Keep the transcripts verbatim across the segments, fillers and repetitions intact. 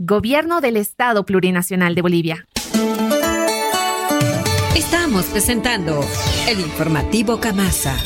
Gobierno del Estado Plurinacional de Bolivia. Estamos presentando el informativo Camasa.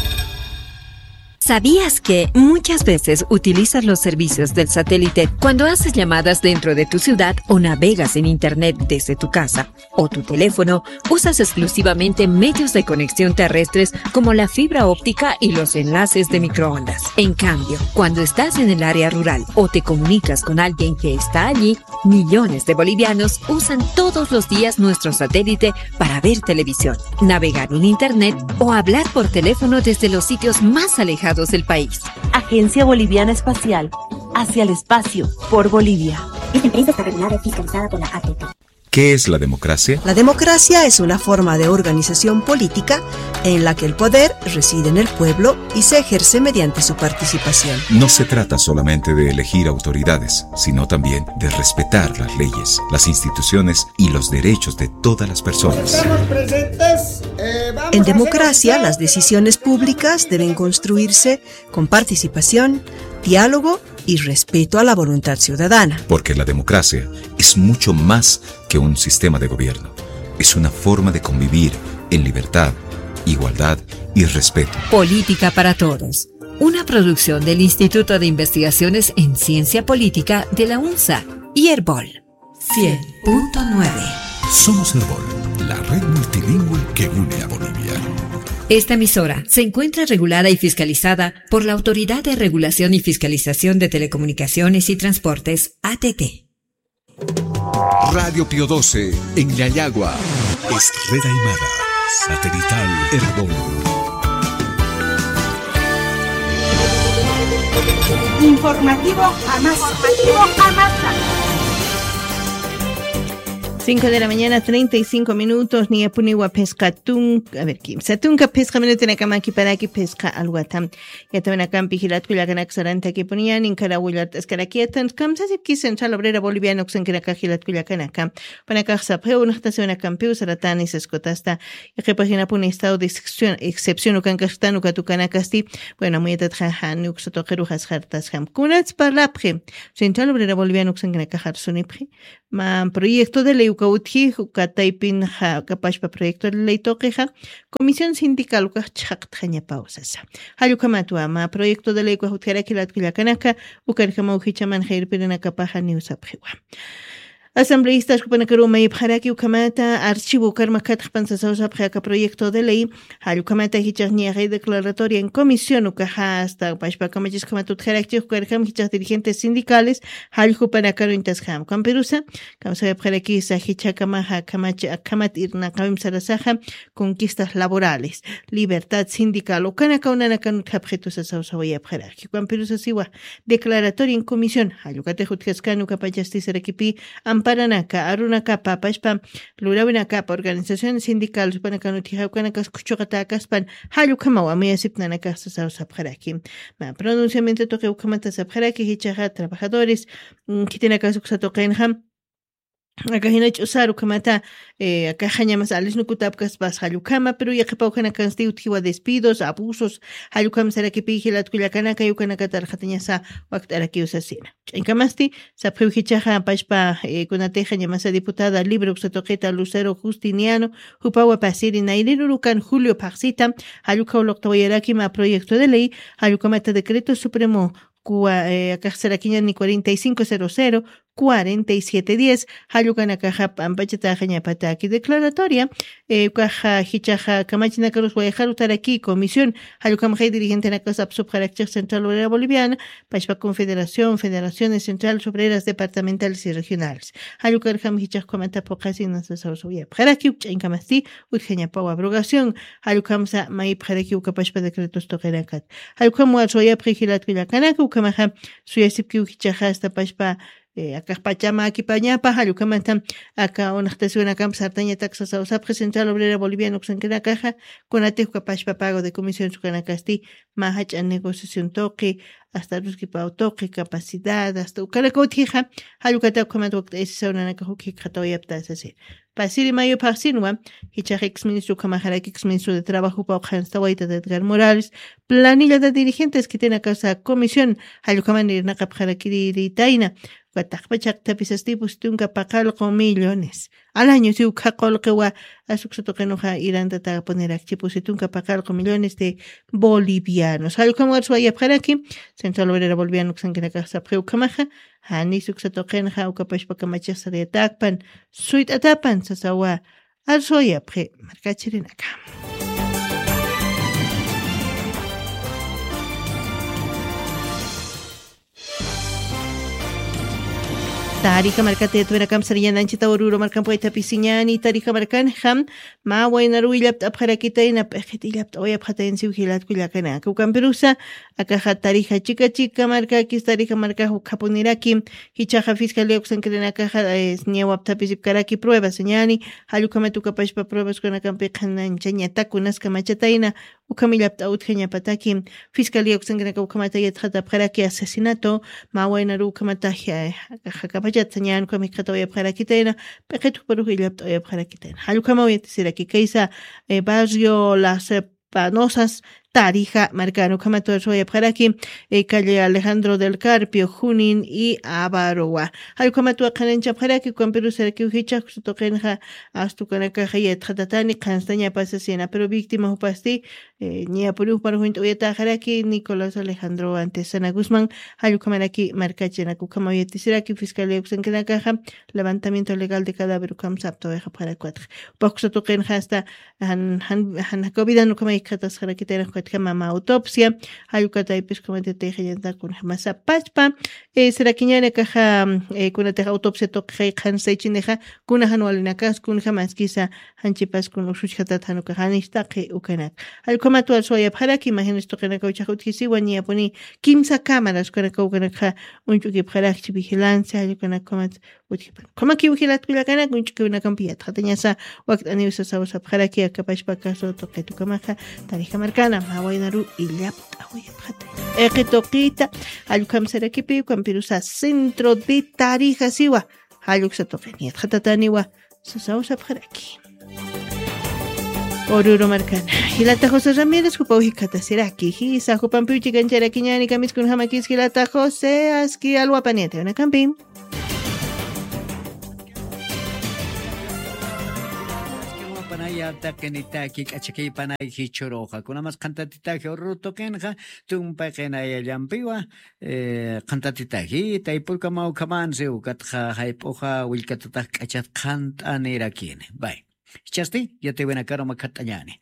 ¿Sabías que muchas veces utilizas los servicios del satélite cuando haces llamadas dentro de tu ciudad o navegas en Internet desde tu casa o tu teléfono? Usas exclusivamente medios de conexión terrestres como la fibra óptica y los enlaces de microondas. En cambio, cuando estás en el área rural o te comunicas con alguien que está allí, millones de bolivianos usan todos los días nuestro satélite para ver televisión, navegar en Internet o hablar por teléfono desde los sitios más alejados del país. Agencia Boliviana Espacial, hacia el espacio, por Bolivia. Esta empresa está regulada y fiscalizada por la A T T. ¿Qué es la democracia? La democracia es una forma de organización política en la que el poder reside en el pueblo y se ejerce mediante su participación. No se trata solamente de elegir autoridades, sino también de respetar las leyes, las instituciones y los derechos de todas las personas. Estamos presentes, eh, vamos En a hacer democracia, oficial las decisiones públicas deben construirse con participación, diálogo y respeto a la voluntad ciudadana. Porque la democracia es mucho más que un sistema de gobierno. Es una forma de convivir en libertad, igualdad y respeto. Política para Todos, una producción del Instituto de Investigaciones en Ciencia Política de la UNSA y Erbol. Cien punto nueve. Somos Erbol, la red multilingüe que une a Bolivia. Esta emisora se encuentra regulada y fiscalizada por la Autoridad de Regulación y Fiscalización de Telecomunicaciones y Transportes, A T T. Radio Pío doce, en Llallagua. Es red aymara, satelital Erbol. Informativo Amasa. Informativo Amasa. Cinco de la mañana, treinta y cinco minutos, niyapuniwa phisqa tunka, a ver, kimsa tunka phisqa minutunakama kiparaki phisqa alwata. Yatawinakampi jilatkullakanaka sarantakipuniyani, inkara willart'askarakiyatanti, kamsasipki Central Obrera Boliviana uksankinaka jilatkullakanaka. Panakax sapxiw, unxtasiwinakampiw saratani saskutasta, yaqhipaxinapuni estado de excepción, excepción ukankaxtan ukat ukanakasti, bueno, amuyatatxa jani uksa tuqirux asxartasxam. Kunats parlapxi, Central Obrera Boliviana uksankinakax arsunipxi, mä proyecto de ley uka utji, uka taypinxa, uka pachpa proyecto de ley tuqixa, comisión sindical ukax chhaqtxañapaw sasa. Jall ukhamatwa, mä proyecto de ley ukax utjaraki jilatkullakanaka, ukarjamaw jichhamanxa irpirinakapaxa niw sapxiwa. Asambleístas jupanakaruw mayipxaraki ukhamata, archivo ukar makhatxpan sasaw sapxi aka proyecto de ley, jall ukhamata jichhax niyaxay declaratoria en comisión ukaxa hasta pachpa kamachiskhamat utjarakchix ukarjam jichhax dirigentes sindicales, jall jupanakaru intasjam. Kampirusa, kamsawayapxarakisa jichhakamaxa, kamachi, akhamat irnaqawim sarasaxa, conquistas laborales, libertad sindical, ukanakaw nanakan utjapxitusa sawsawayapxaraki. Kampirusa siwa, declaratoria en comisión, jall ukatix utjaskan ukapachasti sarakipi, amparanaka, arunakapa, pachpa, lurawinakapa, organizaciones sindicales, supanakan utjixa ukanakas kuchuqatäkaspan, jall ukhamaw amuyasipnanakax sasaw sapxaraki. Mä pronunciamiento tuqi ukhamata sapxaraki, jichhaxa trabajadores, mm, khitinakas uksa tuqinxa, aka jina ch'usar ukhamata, eh, aka jañamas alisnukutapkaspas jall ukhama, pero yaqhipaw janakansti utjiwa despidos, abusos, jall ukham sarakipi jilatkullakanaka, ukanakatarxatañasa wakt'arakiw sasina. Ch'añkamasti, sapxiw jichhaxa pachpa, eh, kunatixa ñamasa diputada libre uksa tuqita Lucero Justiniano, jupawa pasiri nayrirurukan julio phaxsita, jall ukhaw luqtawayaraki mä proyecto de ley, jall ukhamata decreto supremo, cua-, eh, akax sarakiñani cuarenta y cinco cero cero, cuarenta y siete diez, jall ukanakaxa pampachataxañapataki declaratoria, eh, ukaxa jichhaxa kamachinakarus wayxarutaraki comisión, jall ukhamaxay dirigentenakas apsupxarakchix Central Obrera Boliviana, pachpa Confederación, Federaciones Centrales Obreras Departamentales y Regionales. Jall ukarjam jichhax ukhamata phuqhasina sasaw sapxaraki, ch'añkamasti, utjañapaw abrogación, jall ukhamsa mayipxaraki uka pachpa decretos tuqinakat. Jall ukham warsawayapxi jilatkullakanaka, ukhamaxa suyasipkiw jichhaxa hasta pachpa, eh, akax pachama akipañapa, jall ukhamata aka unxtasiwinakamp sartañatak sasaw sapxi Central Obrera Boliviana uksankinakaxa, kunatix uka pachpa pago de comisión ukanakasti, mä jach'a negociación tuqi, hasta ruskipaw tuqi, capacidad, hasta ukanaka utjixa, jall ukata ukhamat wakt'ayasisaw nanakax uk jikxatawayapta sasina. Pasiri mayo phaxsinwa, jichhax exministro ukhamaxaraki, exministro de Trabajo, jupaw qhanstawayta Edgar Morales, planilla de dirigentes khitinakasa comisión, jall ukhaman irnaqapxarakiritayna, Patax pachaqtapis asti pusi tunka paqallqu millones. Al año si ukha qulqiwa, asuksa tuqinuxa irantatapuniraki pusi tunka paqallqu millones de bolivianos. Jallukama warsuwayapxaraki, Central Obrera Boliviano uksankinakax sapxi ukhamaxa, jani suksa tuqinxa ukapashpakamachix sariyatakpan, suyt'atapan sasawa. Arsuwayapxi markachirinaka. Tarija markata yatwinakam sariñananchita ururu markan puwaytapisiñani tarija markanxa, mä waynaruw illapt'apxarakitayna p'iqit illapt'awayapxatayna siw jilatkullakanaka ukampirusa. Akaxa tarija chika chika markakis tarija markax ukhapuniraki. Jichhaxa fiscalía uksankirinakaxa, ñawapthapisipkaraki pruebas ñani. Jallukhamat ukapashpa pruebas kunakampixananchañatak kunaskamachatayna. Ukhamillapt'a utjañapataki, fiscalía uksankinaka ukhamata yatxatapxaraki asesinato, mä waynaru ukhamata jakapachatsañan ukhamikxatawayapxarakitayna. P'iqit ukparux illapt'awayapxarakitayna jallukhamaw yatisiraki kaysa, barrio las panosas, tarija markan ukhamata suwayapxaraki, calle alejandro del carpio junin y avarowa. Jallukhamat waqhananchapxaraki ukampirusarakiw jichhax kusa tuqinxa, astukanakaxa yatxatatani qhanstañapasasina pero víctima jupasti, ñapuriw parjuñt'awayataxaraki nicolás alejandro antesana gusman. Jallukhamaraki markachinak ukhamaw yatisiraki fiscalía uksankinakaxa, levantamiento legal de cadáver ukham saptawayxapxarakwatak. Upax kusa tuqinxa asta, jan jan jan jacobidan ukhamaykatasxarakitayna ukatjama mä autopsia. Jallukataypis ukhamatitayxañatak kunjama sapachpa. Sirakiñanakaxa, kunatix autopsia tuqixay qhansaychinixa, kuna jan walinakas kunjama askisa, janchipas kun usuchjatat jan ukax janistaqi ukanak. Jallukhamat warsuwayapxaraki imaginas tuqinakaw chax utjisiwa ñapuni, kimsa cámaras ukanakaw ukanakxa, uñch'ukipxarakchi vigilancia jallukhanakukhamat. Utjipan ukhamakiw jilatkullakanak uñch'ukiwinakampi yatxatañasa, wakt'aniw sasaw sapxaraki akapashpa caso tuqit ukhamaxa, tarija markana mä waynaru illapt'awayapxatay. P'iqi tuqita, jallukhamsarakipi ukampirusa centro de tarija siwa, jalluksa tuqin yatxatataniwa, sasaw sapxaraki. Oruro markana, jilata josé ramírez jupaw jikhatasiraki jisa jupampiw chikancharakiñani kamiskunjamakis jilata josé aski alwapaniyata yawnakampi. Panaya taqinitaki k'achakay panay jichhuruxa kunamas qhantatitaji ururu tuqinxa, tumpaqinayallampiwa, qhantatitaji taypurkamaw ukhamansi ukatxa jayp'uxa willkatatax k'achat qhant'anirakini. Bay, jichhasti yatiwinakaru makhat'añani.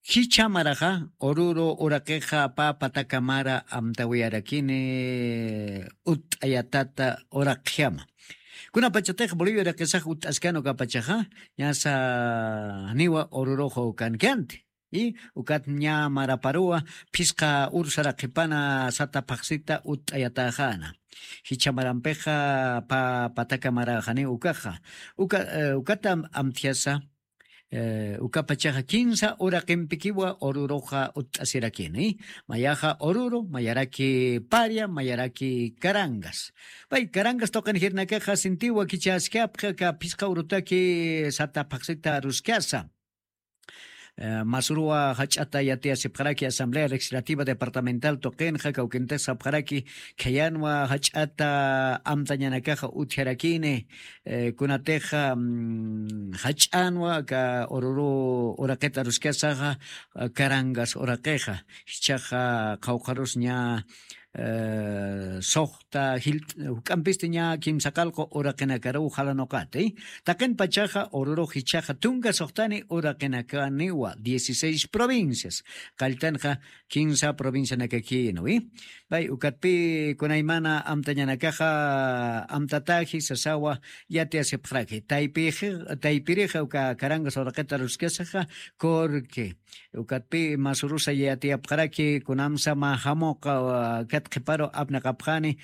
Jichhamaraxa ururu uraqixa pä patakamara amtawiyarakini, utt'ayatata uraqjama. Kunapachatix bolivia uraqisax utt'askan ukapachaxa, ñasa niwa ururuxa ukankianti. Ukat ña maraparuwa phisqa ursaraqhipana sata phaqsita utt'ayataxana. Jichhamarampixa pä patakamaraxani ukaxa. Ukata amthiasa, ukapachaxa kinsa uraqimpikiwa ururuxa utt'asirakini. Mayaxa ururu mayaraki paria mayaraki carangas. Pay carangas tuqin jirnakaxa sintiwa kichäskapxi aka phisqa urutaki sata phaqsita aruskasa. Masuruwa jach'ata yatiyasipxaraki asamblea legislativa departamental tuqinxa kawkintix sapxaraki, khayanwa jach'ata amtañanakaxa utjarakini. Kunatixa jach'anwa aka ururu uraqita aruskasaxa, carangas uraqixa jichhaxa qhawqharus ña suxta juk'ampisti ña kimsa qalqu uraqinakaruw jalanuqati. Taqin pachaxa ururux jichhaxa tunka suxtani uraqinakaniwa dieciséis provincias, qalltanxa kinsa provincianakakïnwi. Pay ukatpï kunaymana amtañanakaxa amtataji sasawa yatiyasipxaraki taypirixa uka carangas uraqita aruskasaxa, corque ukatpï masurusa yatiyapxaraki kunamsa mä jamuqa kat qhiparu apnaqapxani,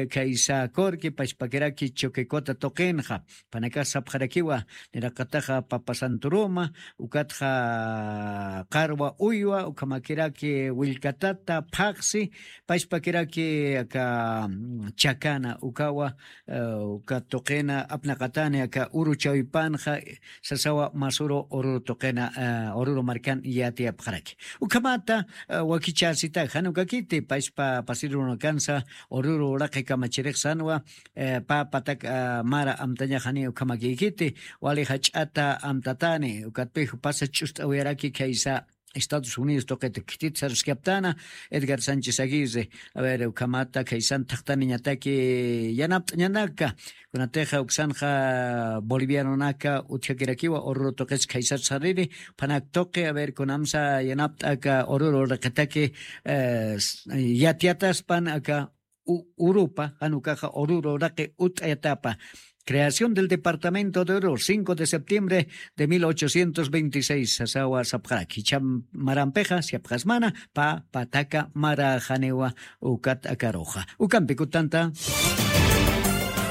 khaysa corque pachpakiraki choquecota tuqinxa. Panakax sapxarakiwa niraqataxa papa santuruma, ukatxa qarwa uywa ukhamakiraki willkatata phaqsi, pachpakiraki aka chakana ukawa uka tuqina apnaqatani aka uru chawpanxa, sasawa masuru ururu tuqina ururu markan yatiyapxaraki. Ukhamata wakichäsitaxa jan ukakiti pachpa Siruna kansa ururu uraqi kamachirix sanwa, eh, pa patak, ah, mara amtañaxani ukhamakikiti, wali jach'ata amtatani ukatpix pasa ch'ust'awiyaraki khaysa Estados Unidos tuqita khitit sarskaptana Edgar Sánchez Aguirre. A ver, ukhamata khaysan thaqtaniñataki yanapt'añanaka. Kunatixa uksanxa bolivianonaka utjakirakiwa ururu tuqis khaysar sariri, phanak tuqi, a ver, kunamsa yanapt'aka ururu riqitaki, eh, s- yatyataspan aka u- urupa, janukaxa ururu raqi ut'ayatapa. Creación del departamento de Oruro, cinco de septiembre de mil ochocientos veintiséis, sasawa sapxaraki. Cham marampixa siapxasmana pa pataka mara janiwa ukat akaruxa. Ukampi kutanta.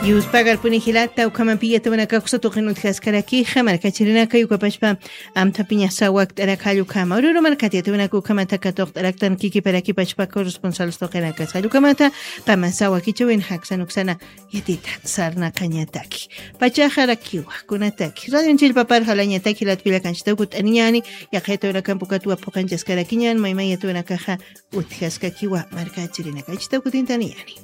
Yuspagarpuni jilata ukhaman piyatawanaka kusa tuqin utjaskarakixa markachirinaka yukapashpa amthapiñasa wakt'arakalla ukhama ururu markatiyatawanaka ukhamata katuqt'araktan kikiparakipashpa corresponsales tuqinakasalla ukhamata qamasa wakichawin jaksan uksana yatita sarnaqañataki. Pachaxarakiwa kunataki radion chillpapar jalañataki jilatpilla kanchitaw kut'aniñani. Yaqayatawanakampukatwa phuqanchaskarakiñan maymayatawanakaxa utjaskakiwa markachirinaka achitaw kutintaniyani.